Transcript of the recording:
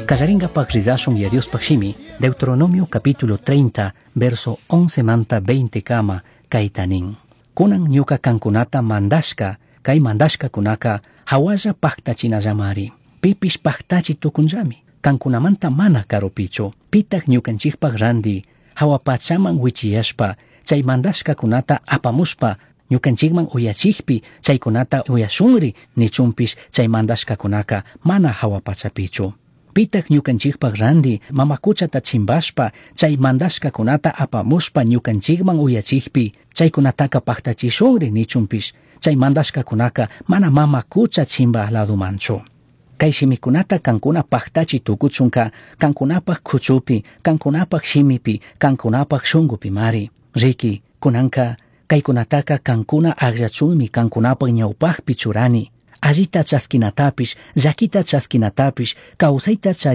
Kallaringapaj rizashun ya Diospaj shimi, Deuteronomio capítulo 30, verso 11 manta 20 kama, kayta nin. Kunan ñuka kankunata mandashka, kay mandashkakunaka hawalla paktachinallamari. Pipish paktachi tukunllami. Kankunamanta mana karupichu. Pitak ñukanchikpaj randi, hawa pachaman wichiyashpa, chay mandashkakunata apamushpa, ñukanchikman uyachikpi, chaykunata uyashunri nichunpish chay mandashkakunaka mana hawa pachapichu. Pitak ñukanchikpaj randi, mama kuchata chimbashpa, chay mandashkakunata apamushpa ñukanchikman uyachikpi, chaykunataka paktachishunri nichunpish, chay mandashkakunaka mana mama kucha chimba ladumanchu. Kay shimikunata kankuna paktachi tukuchunka, kankunapaj kuchupi, kankunapaj shimipi, kankunapaj shunkupi mari. Riki, kunanka, kaykunataka kankuna akllachunmi kankunapaj ñawpajpi churani. Allita chaskinatapish, llakita chaskinatapish, kawsayta chari.